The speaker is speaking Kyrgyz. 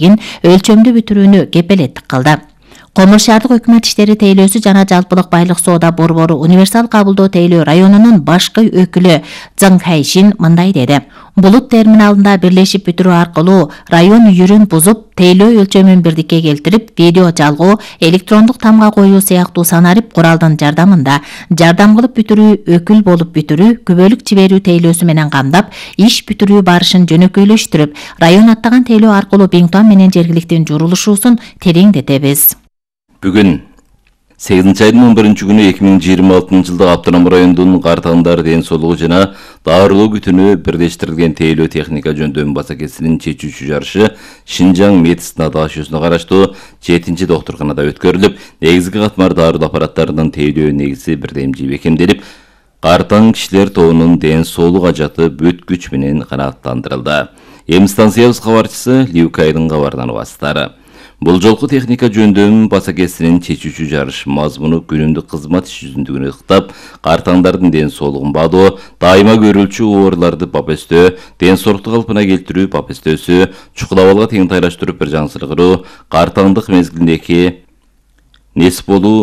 өлчөмдүү бүтүрүүнү кепилеттик кылды. Комур шаардык өкмөт иштери тейлөөсү жана жалпылык байлык соода борбору универсал кабылдоо тейлөө районунун башкы өкүлү Зың Хайшин мындай деди. Булут терминалында бирлешип бүтүрүү аркылуу район үйүрүн бузуп, тейлөө өлчөмүн бирдикке келтирип, видео жалгоо, электрондук тамга коюу сыяктуу санарип куралдын жардамында жардам кылып бүтүрүү, өкүл болуп бүтүрүү, күбөлүк жиберүү тейлөөсү менен камдап, иш бүтүрүү барышын жөнөкөйлөштүрүп, район аттаган тейлөө аркылуу Бингтон менен жергиликтин журулушуусун тереңдетебиз. Бүгүн 8 айдын 11 күнү 2026 жылда Автоном районунун Картаңдар ден соолугу жана дарылоо күтүнө бирдештирилген тейлөө техника жөндөмү басакесинин чечүүчү жарышы Шинжаң медицина даашосуна караштуу 7 доктурканада өткөрүлүп, негизги катмар дарылоо аппараттарынын тейлөө негизи бирдемчи бекемделип, Картаң кишилер тобунун ден соолук ажаты бүт күч менен канааттандырылды. Эми станциябыз кабарчысы Ливкайдын кабарынан убастары. Бул жолку техника жөндөмү басакесинин чечүүчү жарыш мазмуну күнүмдүк кызмат иш жүзүндүгүн ыктап, картаңдардын ден соолугун баадоо, дайыма көрүлчү ооруларды папестөө, ден соолукту калпына келтирүү папестөөсү, чукул абалга тең тайлаштырып бир жаңсыргыруу, картаңдык мезгилиндеги нес болуу,